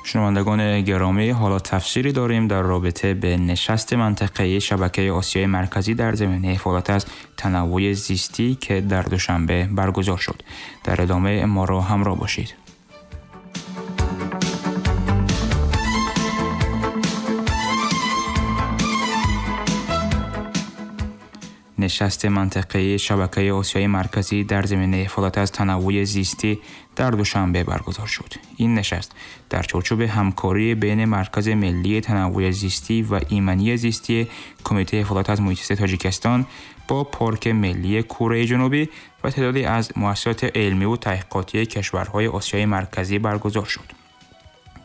شنوندگان گرامی، حالا تفسیری داریم در رابطه به نشست منطقه‌ای شبکه آسیای مرکزی در زمینه حفاظت از تنوع زیستی که در دوشنبه برگزار شد. در ادامه ما را همراه باشید. نشست منطقه‌ای شبکه آسیای مرکزی در زمینه حفاظت از تنوع زیستی در دوشنبه برگزار شد. این نشست در چارچوب همکاری بین مرکز ملی تنوع زیستی و ایمنی زیستی کمیته حفاظت از محیط زیست تاجیکستان با پارک ملی کره جنوبی و تعدادی از مؤسسات علمی و تحقیقاتی کشورهای آسیای مرکزی برگزار شد.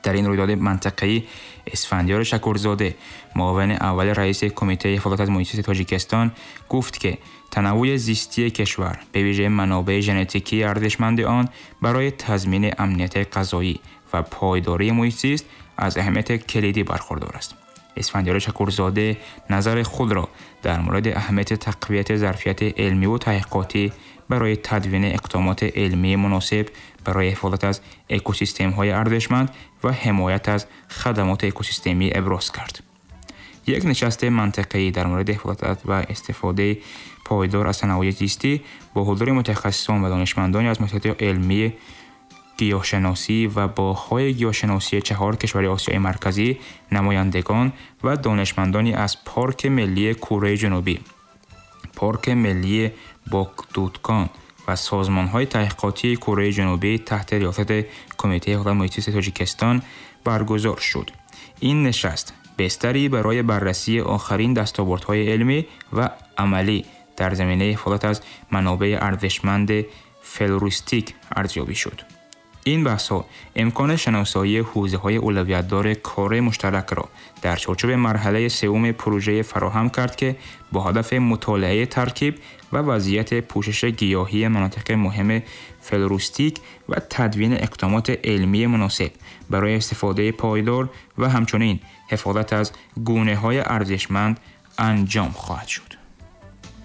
در این رویداد منطقه‌ای اسفندیار شکرزاده، معاون اول رئیس کمیته حفاظت از محیط زیست تاجیکستان، گفت که تنوع زیستی کشور به ویژه منابع ژنتیکی ارزشمند آن برای تضمین امنیت غذایی و پایداری محیط زیست از اهمیت کلیدی برخوردار است. اسفندیار شکرزاده نظر خود را در مورد اهمیت تقویت ظرفیت علمی و تحقیقاتی برای تدوین اقدامات علمی مناسب برای حفاظت از اکوسیستم‌های ارزشمند و حمایت از خدمات اکوسیستمی ابراز کرد. یک نشست منطقه‌ای در مورد حفاظت و استفاده پایدار از تنوع زیستی با حضور متخصصان و دانشمندانی از مؤسسات علمی گیاهشناسی و باغ‌های گیاهشناسی 4 کشور آسیای مرکزی، نمایندگان و دانشمندانی از پارک ملی کره جنوبی، پارک ملی باکدودکان و سازمان‌های تحقیقاتی کره جنوبی تحت ریاست کمیته حفاظت محیط زیست تاجیکستان برگزار شد. این نشست بستری برای بررسی آخرین دستاوردهای علمی و عملی در زمینه حفاظت از منابع ارزشمند فلوریستیک ارزیابی شد. این بحث‌ها امکان شناسایی حوزه‌های اولویت‌دار کار مشترک را در چارچوب مرحله سوم پروژه فراهم کرد که با هدف مطالعه ترکیب و وضعیت پوشش گیاهی مناطق مهم فلوریستیک و تدوین اقدامات علمی مناسب برای استفاده پایدار و همچنین حفاظت از گونه‌های ارزشمند انجام خواهد شد.